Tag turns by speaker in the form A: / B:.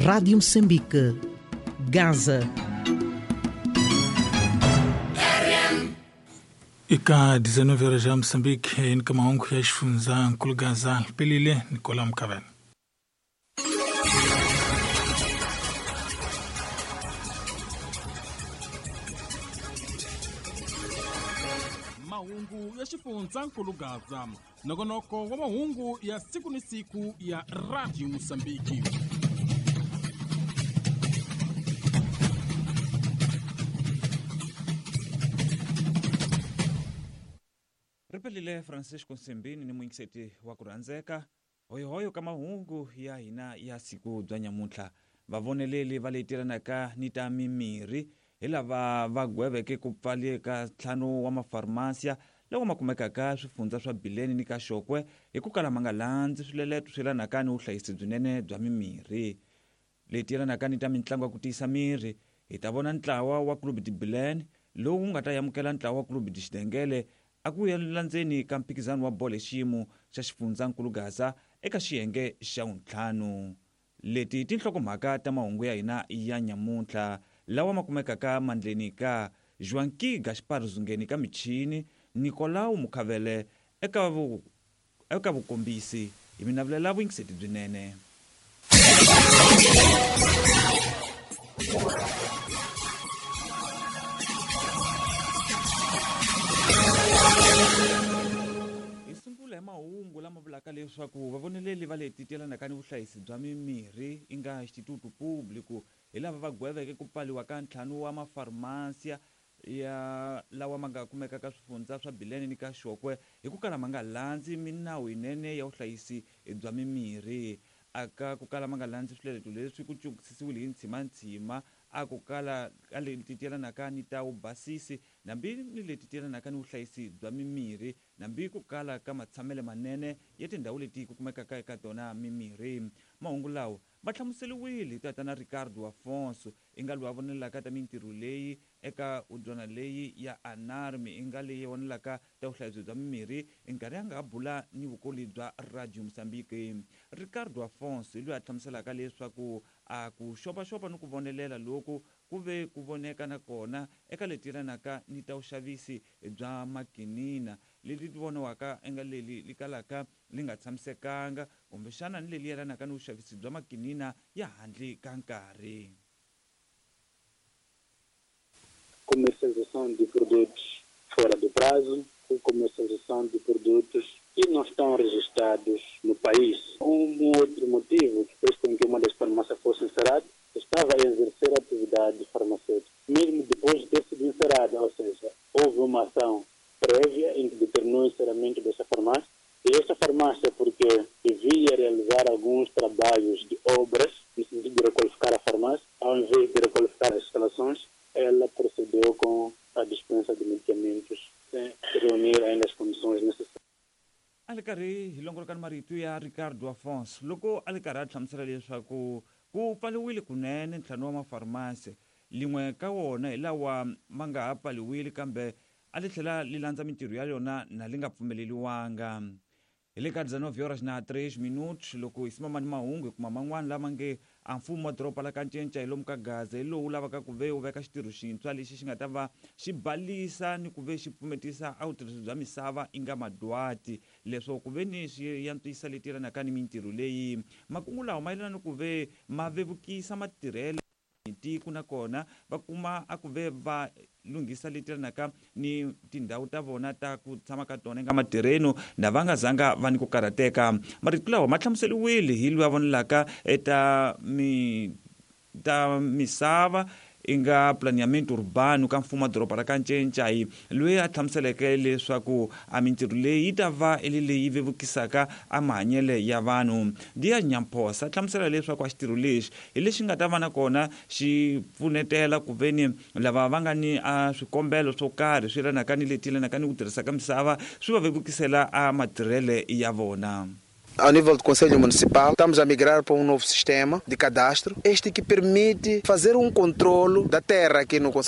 A: Rádio Moçambique, Gaza.
B: Ika 19 horas ya Moçambique, ni mahungu ya xifundzha nkulu Gaza pelile Nicola Mkavela.
C: Mahungu ya xifundzha nkulu Gaza, nongonoko wa mahungu ya siku ni siku ya Radio Mosambiki.
D: Ripelile Francisco Nsimbini ni muyingiseti wa ku rhandzeka hoyohoyo ka mahungu ya hina ya siku bya nyamuntlha. Vavoneleli va leyi tirhanaka ni ta mimirhi hi lava va gweveke ku pfaleka ntlhanu wa mafarmasiya lawa ma kumekaka swifundza swa Bileni ni ka Xokwe hi ku kala ma nga landzi swileleto swi yelanaka ni vuhlayisi byinene bya mimirhi. Leyi tiyelanaka ni ta mitlangu ya ku tiyisa miri, hi ta vona ntlawa wa Clube de Bilene lowu nga ta amukela ntlawa wa Clube de Xidengele a ku landzeni ka mphikizano wa bolo hi xiyimo xa xifundzankulu Gaza eka xiyenge xa vuntlhanu. Leti tinhlokomhaka ta mahungu ya hina ya nyamuntlha lawa ma kumekaka mandleni ka Joaquim Gaspar Zungeni ka michini, Nicolau Mukhavele eka vukombisi. Hi mi navelela vuyingiseti byinene. Hi sungula hi mahungu lama vulaka leswaku vavoneleli va leti tielanaka ni vuhlayisi bya mimirhi i nga Instituto Público hi lava va gweveke ku pfaliwa ka ntlhanu wa mafarmasiya ya lawa ma nga kumekaka swifundza swa Bilene ni ka Xokwe hi ku kala ma nga landzi minawu yinene ya vuhlayisi bya mimirhi. Aka ku kala ma nga landzi swileleto leswi ku cukisisiwile hi ntshimanthsima a ku kala ka leti tielanaka ni ta vubasisi nambi ni leti tielanaka ni vuhlayisi bya mimirhi nambi ku kala ka matshamele manene ya tindhawu leti ku kumekaka eka tona mimirhi. Mahungu lawa ma hlamuseriwile hi tatana Ricardo Afonso i nga loyi a vonelaka ta mintirho leyi eka udyana leyi ya Anarmi i nga leyi vonelaka ta vuhlayisi bya mimirhi nkarhi a nga bula ni vukoli bya Radio Mozambique. Ricardo Afonso hi loyi a hlamuselaka leswaku a ku xopaxopa ni ku vonelela loku ku ve ku voneka na kona eka leti yelanaka ni ta vuxavisi bya makinina leti ti voniwaka enga leli li kalaka li nga tshamisekanga kumbexana ni leli yelanaka ni vuxavisi bya makinina ya handle ka nkarhi.
E: Comercialização de produtos fora do prazo ou comercialização de produtos que não estão registrados no país. Um outro motivo que fez com que uma das farmácias fosse encerrada estava a exercer atividade farmacêutica, mesmo depois de ter sido encerrada, ou seja, houve uma ação prévia em que determinou o encerramento dessa farmácia. E esta farmácia, porque devia realizar alguns trabalhos de obras, no sentido de requalificar a farmácia, ao invés de requalificar as instalações, ela procedeu com a dispensa de medicamentos sem reunir ainda as condições necessárias.
D: A li karhi hi longoloka ni marito ya Ricardo Afonso loko a li karhi a hlamusela leswaku ku pfaliwile kunene ntlhanu wa mafarmasi, lin'we ka wona hi lawa ma nga ha pfaliwile kambe a li tlhela li landza mintirho ya yona na li nga pfumeleliwanga. Hi le ka 19 horas na 3 minutos loko hi simama ni mahungu hi kuma man'wana lama nge a mfumo wa doroba la ka Ncinca hi lomu ka Gaza hi lowu lavaka ku ve wu veka xitirho xintshwa lexi xi nga ta va xi balisa ni ku ve xi pfumetisa a vutirhisi bya misava i nga madwati leswo ku ve ni swi yantswisa leti yelanaka ni mintirho leyi. Makungu lawa ma yelana ni ku ve ma vevukisa matirhelo tiko nakona va kuma a ku ve va lunghisa leti yelanaka ni tindhawu ta vona ta ku tshama ka tona eka matirheno na va nga zanga va ni ku karhateka. Marito lawa ma hlamuseriwile hi loyi a vonelaka eta ta misava i nga planeamento urbano ka mfumo wa doroba ra ka Ncinca hi loyi a hlamuseleke leswaku a mintirho leyi yi ta va i leyi vevukisaka a mahanyele ya vanhu. Dia Nyamphosa a hlamusela leswaku a xitirho lexi hi lexi nga ta va na kona xi pfunetela ku veni lava va nga ni a swikombelo swo karhi swi yelanaka ni leti yelanaka ni ku tirhisa ka misava swi va vevukisela a matirhele ya vona.
F: Ao nível do Conselho Municipal, estamos a migrar para um novo sistema de cadastro, este que permite fazer um controlo da terra aqui no Conselho.